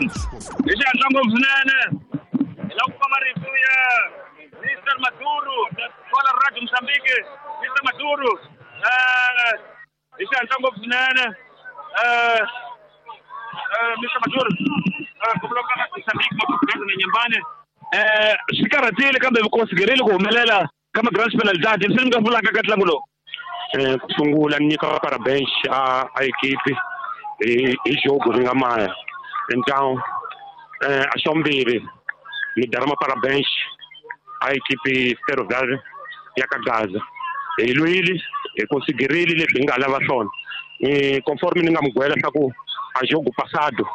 Hi xihatla ngopfu swinene hi lava ku kuma marito ya Mr Maduro kwala Radio Mozambique. Mr Maduro, hi xihatla ngopfu swinene, Mr Maduro, ku vulavula na Mozambique Maputo na Nyambane. Swi karhatile kambe mi konsiderile ku humelela ka ma-grand penalidade, mi swi mi nga vulaka ka ntlangu lowu? Ku sungula ni nyika parabéns a equipe hi jogo ri nga maya. Então a xa vumbirhi ni dara parabéns a equipe Ferroviário ya ka Gaza. Hi lwile, hi konsiderile leswi hi nga lava swona. Conforme ni nga mi gwela swa ku a jogo passado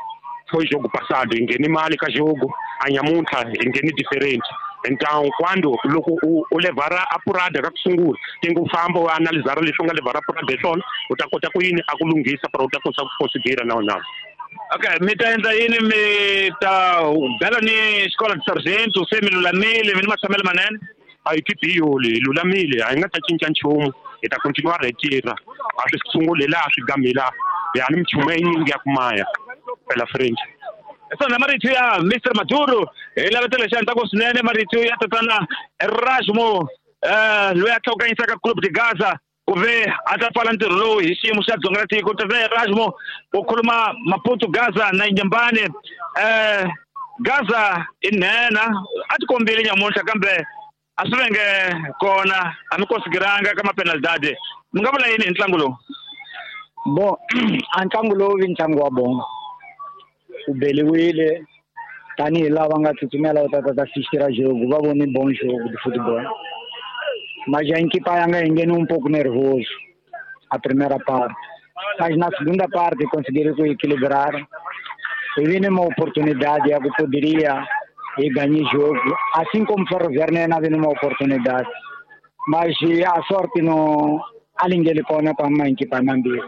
foi jogo passado, hi ngheni mali ka jogo, a nyamuntlha hi ngheni different. Então quando loko u levhara apurada ka ku sungula, tinge u famba u analizara leswi u nga levhara apurada hi swona, u ta kota ku yini a ku lunghisa para u ta kota ku considera na na. Okay, mi ta endla yini? Mi ta bela ni xikolo de sargento se mi lulamile, mi ni matshamelo manene? A equipe hi yoli, hi lulamile, a hi nga ta cinca nchumu, hi ta continua retira. A swi sunguli laha swi gami laha, ya ni minchumu yinyingi ya ku maya pela frente. Swona marito ya Mr Maduro hi lavetela xihatla swinene, marito ya tatana Erasmo, loyi a tlhokanyisaka Club de Gaza ku ve a ta pfala ntirho lowu hi xiyimo xa dzonga ra tiko. Tatana Erasmo u khuluma Maputo Gaza na Nyambane. Gaza i nhenha, a ti kombile nyamuntlha kambe a swi venge kona, a mi konsideranga ka mapenalidade. Mi nga vula yini hi ntlangu lowu? Bon, a ntlangu lowu vi ntlangu wa bongo, u beliwile tanihi lava nga tsutsumela u ta ta assistira jogo, va vone bom jogo de futebol, mas a equipa yanga engene um pouco nervoso a primeira parte, mas na segunda parte conseguiram equilibrar e vi uma oportunidade que poderia e ganhar jogo, assim como Ferroviário não havia uma oportunidade, mas a sorte não alingele kona para uma equipa mambira.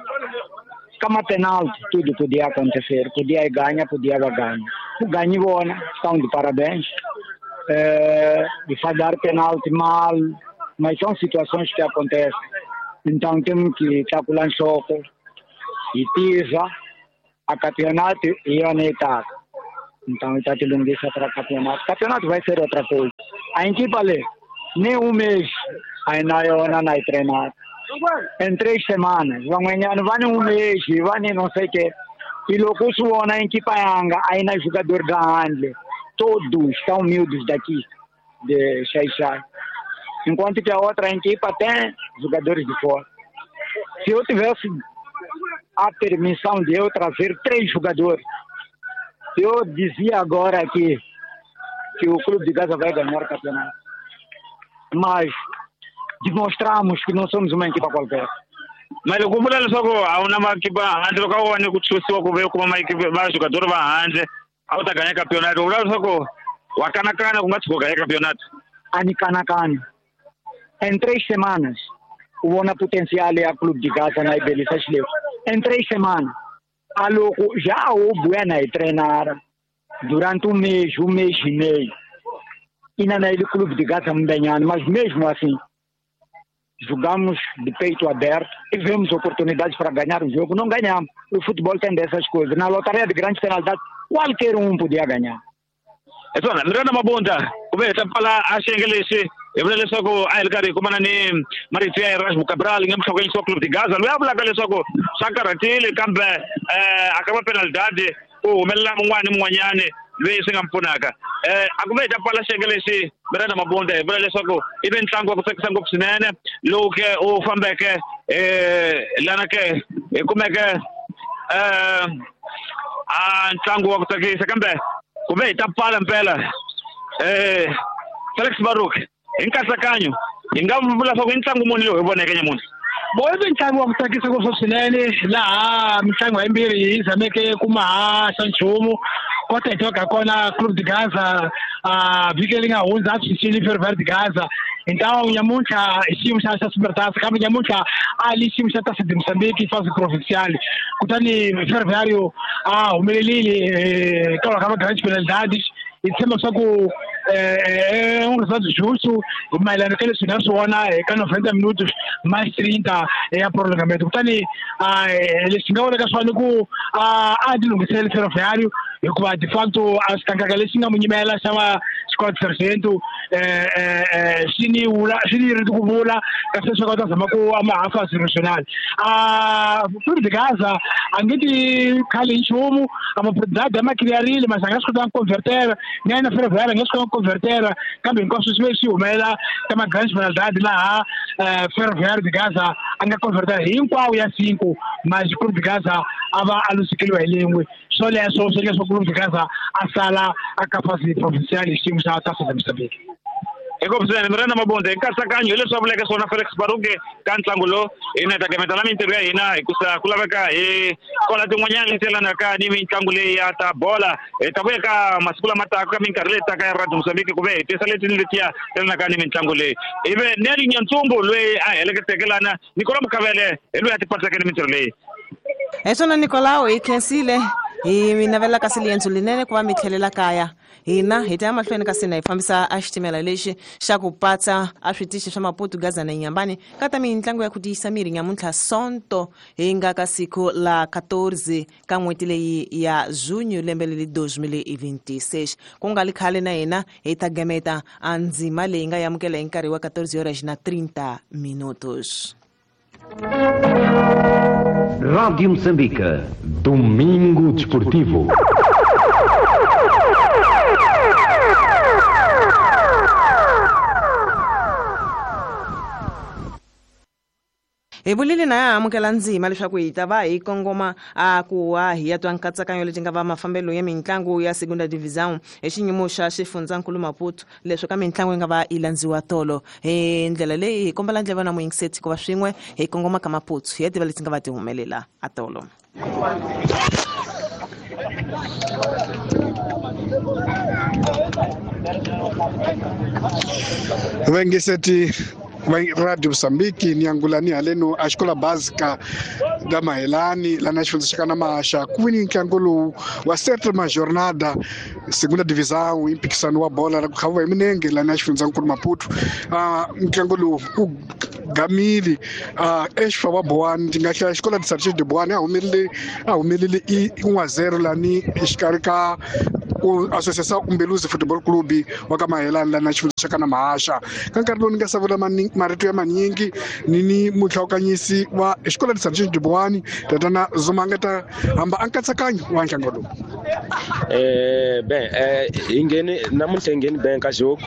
Kama penalti, tudo podia acontecer, podia ganhar, podia ganhar. O ganho bona, estão de parabéns. De falhar penalti mal, mas são situações que acontecem. Então temos que calcular choque e pisa a campeonato e a etapa. Então está te lunguiça para campeonato. Campeonato vai ser outra coisa. A equipa ali, nem um mês ainda eu não treinar. Em 3 semanas, vão ganhar, não vai um mês, vai não sei o quê. E logo na equipa yanga, aí na jogador da Handle, todos estão humildes daqui, de Xaixai. Enquanto que a outra equipa tem jogadores de fora. Se eu tivesse a permissão de eu trazer 3 jogadores, eu dizia agora aqui que o Clube de Gaza vai ganhar o campeonato. Mas demonstramos que não somos uma equipa qualquer. Mas loko vula leswaku a wu na makipa handle, loko a wu wane ku chusiwa ku ve kuma makipa va jogador va handle, a wu ta ganya campeonato. U vula leswaku wa kanakana ku nga tshuka u ganya campeonato? A ni kanakani. Em 3 semanas, o vona potencial ya Clube de Gaza na Ibelisa Xileu. Em 3 semanas, a loko já o Buena e treinar durante um mês e meio. E na ele Clube de Gaza mbenhando, mas mesmo assim jogamos de peito aberto e vemos oportunidades para ganhar o jogo. Não ganhamos. O futebol tem dessas coisas. Na lotaria de grandes penalidades, qualquer um podia ganhar. Swona Miranda Mabunda, ku ve hi ta pfala a xiyenge lexi, hi vula leswaku a hi ri karhi hi kumana ni marito ya Erasmo Cabral nga muhlokanyisi wa Club de Gaza, loyi a vulaka leswaku swa karhatile kambe a ka mapenalidade ku humelela mun'wana ni mun'wanyani loyi swi nga mi pfunaka. A ku ve hi ta pfala xiyenge lexi, Miranda Mabunda, hi vula leswaku i ve ntlangu wa ku tsakisa ngopfu swinene lowu ke u fambeke lana ke hi kumeke a ntlangu wa ku tsakisa, kambe ku ve hi ta pfala mpela. Felix Baruk, hi nkatsakanyo hi nga vula leswaku i ntlangu muni lowu hi voneke nyamuntlha? Bo i ntlangu wa ku tsakisa ngopfu swinene, laha mitlangu yimbirhi yi zameke ku mahaxa nchumu. Kota hi tivaka kona Clube de Gaza vhiki leri nga hundza a cincile Ferroviário de Gaza. Então nyamuntlha i xiyimo xa Supertaça, kambe nyamuntlha a li xiyimo xa Taça de Moçambique fase provincial. Kutani Ferroviário a humelerile kwalaho ka ma-grandes penalidades. Hi tshemba leswaku um resultado justo mayelana ka leswi hi nga swi vona eka 90 minutos mais 30 ya prolongamento. Kutani lexi nga vonaka swona i ku a ti lunghiseleli Ferroviário. Hikuva de facto a xikankaka lexi nga mu nyimela xa va Scott Sargento xi ni vula xi ni ri ku vula kasi leswaku a ta zama ku ama hafa regional a Clube de Gaza a nge ti khali nchumu a maproduct ma clearile mas a nga swi kotanga ku convertera na yena Ferroviária a nga swi kotanga ku convertera kambe hinkwaswo swi ve swi humelela ka ma-grandes penalidade laha Ferroviária de Gaza a nga convertera hinkwawo ya 5 mas Clube de Gaza a va a lusikeliwa hi lin'we swoleswo swi leswaku Clube de Gaza a sala a ka fasi provincial hi xiyimo xa Taça de Moçambique. Inkomu swinene Miranda Mabunda hi nkatsakanyo hi leswi a vuleke swona Felix Baruke ka ntlangu lowu hina hi ta gemeta na mintirho ya hina hikusa ku laveka hi kola tin'wanyana leti yelanaka ni mitlangu leyi ya ta bola hi ta vuya ka masiku lama taka ka minkarhi leyi taka ya Radio Mozambique ku ve hi tisa leti ni letiya yelanaka ni mitlangu leyi hi ve Neli Nyantsumbu loyi a heleketeke lana Nicola Mukavele hi loyi a tipatseke ni mintirho leyi. Hi swona Nicolao hi khensile hi mi navela kasi liendzo linene ku va mi tlhelela kaya hina hi ta ya mahlweni kasi na hi fambisa a xitimela lexi xa ku patsa a switichi swa Maputo Gaza na Inhambane ka ta mitlangu ya ku tiyisa miri nyamuntlha Sonto hi nga ka siku la 14 ka n'hweti leyi ya Junho lembe leri 2026 ku nga li khale na hina hi ta gemeta a ndzima leyi nga yamukela hi nkarhi wa 14 horas na 30 minutos. Rádio Moçambique. Domingo Desportivo. Hi vulile na ya amukela ndzima leswaku hi ta va hi kongoma a ku wa hi ya twa nkatsakanyo leti nga va mafambelo ya mitlangu ya Segunda Divisão hi xiyimo xa xifundzankulu Maputo leswi ka mitlangu yi nga va yi landziwa tolo hi ndlela leyi hi kombela ndleva na muyingiseti ku va swin'we hi kongoma ka Maputo hi ya tiva leti nga va ti humelela a tolo. Vengiseti Radio Mozambique ni angulani haleno a xikola básica da Mahelani lá na xifundza xa ka Namaxa ku vini ntlangu lowu wa sétima jornada segunda divisão i mphikisano wa bola ra ku khaviwa hi minenge la na xifundzankulu Maputo. Ntlangu lowu ku gamile exfa wa Boane ndzi nga hlaya xikola de Sargento de Boane a humelele i 1-0 lani exikarhi ka Associação Umbeluzi Futebol Clube wa ka Mahelani la na xifundza xa ka Namaxa. Ka nkarhi lowu ni nga savula marito ya manyingi ni ni muhlawukanyisi wa xikola de Sargento de Boane tatana Zuma nga ta hamba a nkatsakanyo wa ntlangu lowu. Ben hi ngheni namuntlha hi ngheni ben ka jogo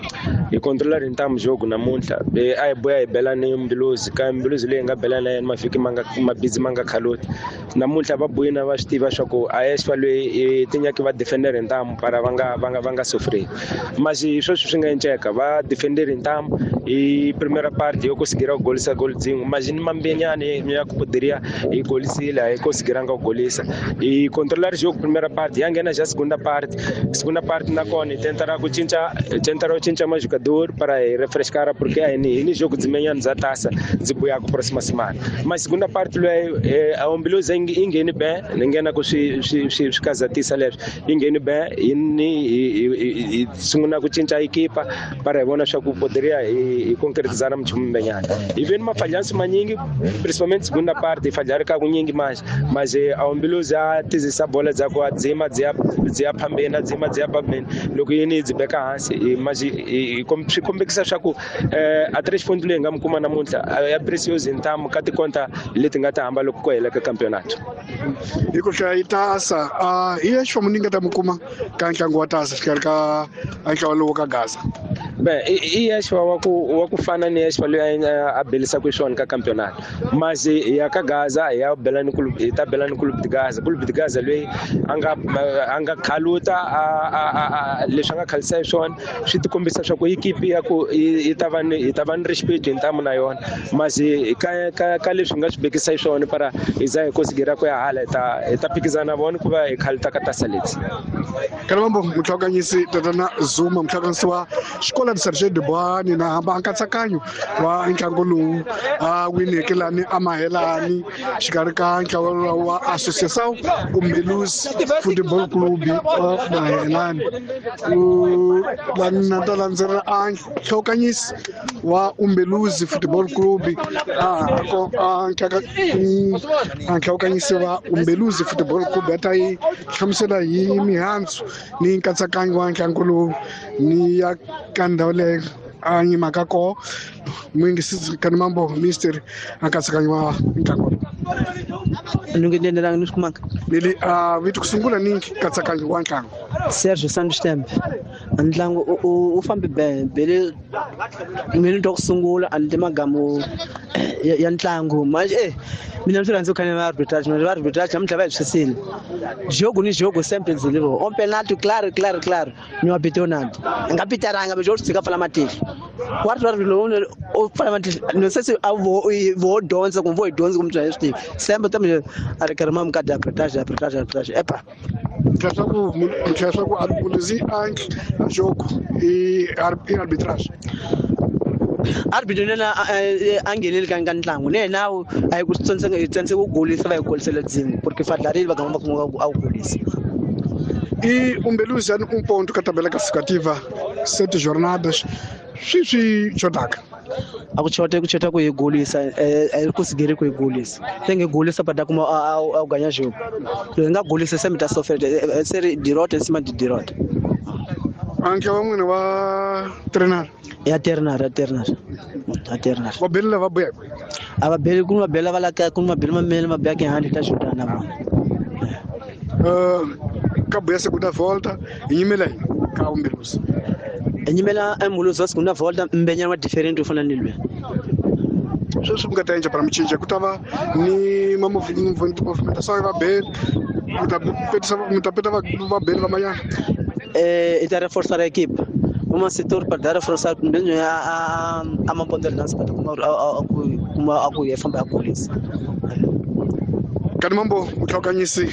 hi controla ri ntamu jogo namuntlha a hi boya hi bela ni Mbiluzi ka Mbiluzi leyi nga bela na yena mavhiki ma nga mabizi ma nga khaloti namuntlha va boyina va swi tiva swa ku a esfa loyi tinyaki va defender ntamu para va nga sofrei mas sweswi swi nga enceka va defender ntamu hi primera parte yo conseguir ku golisa gol dzin'we mas ni mambenyani ya ku poderia hi golisile a hi conseguiranga ku golisa hi controlar jogo primera parte ya nghena já segunda parte nakona hi tentara ku cinca tentara ku cinca majogador para hi refrescar porque a hi ni jogo dzimenyani bya tasa ndzi buyaka próxima semana mas segunda parte loyi a Umbeluzi yi ngheni ben ni nghena ku swi kazatisa leswi yi ngheni ben hi sungula ku cinca ekipa para hi vona swa ku poderia hi concretizar mchumu mbenyana hi veni mafalhansi manyingi principalmente segunda parte hi falhari ka kunyingi manje mas a Umbeluzi a tizisa bola dza ku a dzima dzi ya phambeni a dzima dzi ya phambeni loko yini dzi beka hansi mas swi kombekisa swa ku a tres ponto leyi nga mi kuma namuntlha ya precioso ntamu ka tikonta leti nga ta hamba loko ku hela ka campeonato. Hi ku hlaya yi tasa hi ya xifamu ni nga ta mi kuma ka ntlangu wa tasa xikarhi ka ntlawa lowu ka Gaza. Ben i Yeshua wa ku fana ni Yeshua loyi a belisaka xiswona ka campeonato mas ya ka Gaza ya bela ni club hi ta bela ni club de Gaza club de Gaza loyi a nga khaluta leswi a nga khalisa xiswona swi ti kombisa swa ku ekipi ya ku hi ta va ni respect hi ntamu na yona mas ka leswi nga swi bekisa xiswona para hi za hi conseguir ku ya hala hi ta phikizana vona ku va hi khaluta ka tasa leti. Kalambambo muhlawukanyisi tatana Zuma muhlawukanyisi wa xikola Escola de Sargento de Boane na hamba nkatsakanyo wa ntlangu lowu a wineke lani a Mahelani xikarhi ka ntlawa wa Associação Umbeluzi Football Club wa Mahelani. Lani na ta landzelela a nhlokanyisi wa Umbeluzi Football Club a nhlokanyisi wa Umbeluzi Football Club a ta yi hlamusela hi mihandzu ni nkatsakanyo wa ntlangu lowu ni ya ka ndhawu leyi a yimaka koho. Muyingisisi Kanimambo Mister a nkatsakanyo wa ntlangu lowu. Ni swi kumanga leli a vito ku sungula ni nkatsakanyo wa ntlangu. Sergio Santos Tembe. Ntlangu u fambe bele mina to kusungula a ni magamu ya ntlangu manje mina ndzi rhandza ku khanya va arbitrage na va arbitrage namuntlha va hi swisile jogo ni jogo sempre ndzilivo on penalty claro claro claro ni wa bitonad nga pitaranga bejo tshika pfala matihlo wa ri ri lowu u pfala matihlo no se se a vo dyondza kumbe vo hi dyondza kumbe swi tivi sempre tambe a ri karhi ma mukadi arbitrage arbitrage arbitrage epa leswaku Umbeluzi a jogo i arbitrage. Arbitro nena a ngheneli ka ntlangu ne yena a yi ku tsandzeka ku golisa va yi golisela dzimi porque fadlarile va gamba kuma a wu golisa. E Umbeluzi yani ponto ka tabela classificativa 7 jornadas swi xotaka a ku chota ku chota ku hi golisa a ku sigeri ku hi golisa se nge golisa pada kuma a ganya jogo lo nga golisa se mi ta sofela se ri dirota se ma di dirota. Anke wa n'wina wa trainer ya ternar ya ternar ya ternar va bela va buya a va beli ku va bela va la ka ku va bela mamele ma bya ke handi ta xota na vona ka buya segunda volta yimela ka Umbeluzi nyimela Umbeluzi wa segunda volta mbenyana wa different u fana ni lwe sweswi mi nga ta endla para michinja ku ta va ni ma movimentação va beli mi ta peta va beli va manyana e ta reforçar a equipe uma setor para dar reforçar kumbe a a lança para kuma a ku famba a golisa. Kanimambo muhlokanyisi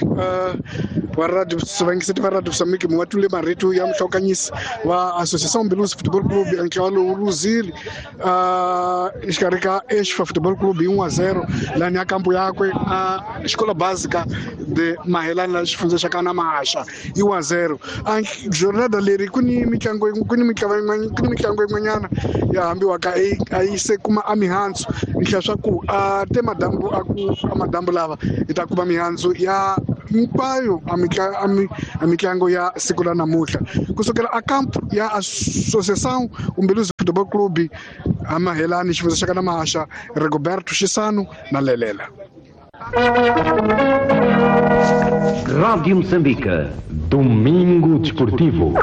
wa radio vayingiseti va radio Mozambique mi wa twile marito ya muhlokanyisi wa Associação Umbeluzi Football Club ntlawa lowu luzile exikarhi ka Exfa Football Club hi 1-0 lani ya kampo yakwe a Escola Básica de Mahelani la xifundza xa ka Namaxa hi 1-0. A jornada leri ku ni mitlangu ku ni mitlangu yin'wanyana ya hambiwaka a yi se kuma a mihandzu ni hlaya swa ku a te madambu a ku a madambu lava hi ta kuma mihandzu ya hinkwayo a mitlangu ya siku la namuntlha kusukela a camp ya Associação Umbeluzi Football Club a Mahelani xifundza xa ka Namaxa Rigoberto Xisano na Lelela. Rádio Moçambique, Domingo Desportivo.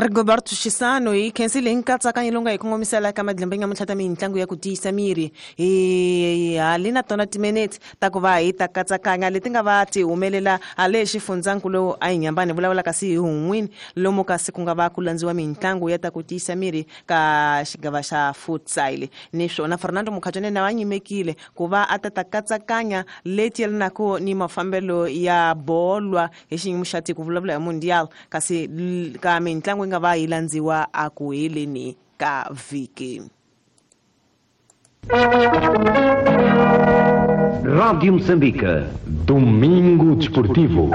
Rigoberto Xisano hi khensile nkatsakanyo lowu nga hi kongomisela ka madlembe nyamuntlha ta mitlangu ya ku tiyisa miri hi hali na tona timinete ta ku va hi ta katsakanya leti nga va ti humelela hale xifundzankulu a hi nyambani vulavula kasi hi hun'wini lomu kasi ku nga va ku landziwa mitlangu ya ta ku tiyisa miri ka xigava xa futsal niswona Fernando Mukhatshane na va nyimekile ku va a ta ta katsakanya leti yelanaka ni mafambelo ya bolwa hi xiyimo xa tiko vulavula hi mundial kasi ka mitlangu nga va yi landziwa a ku heleni ka vhiki. Rádio Moçambique, Domingo Desportivo.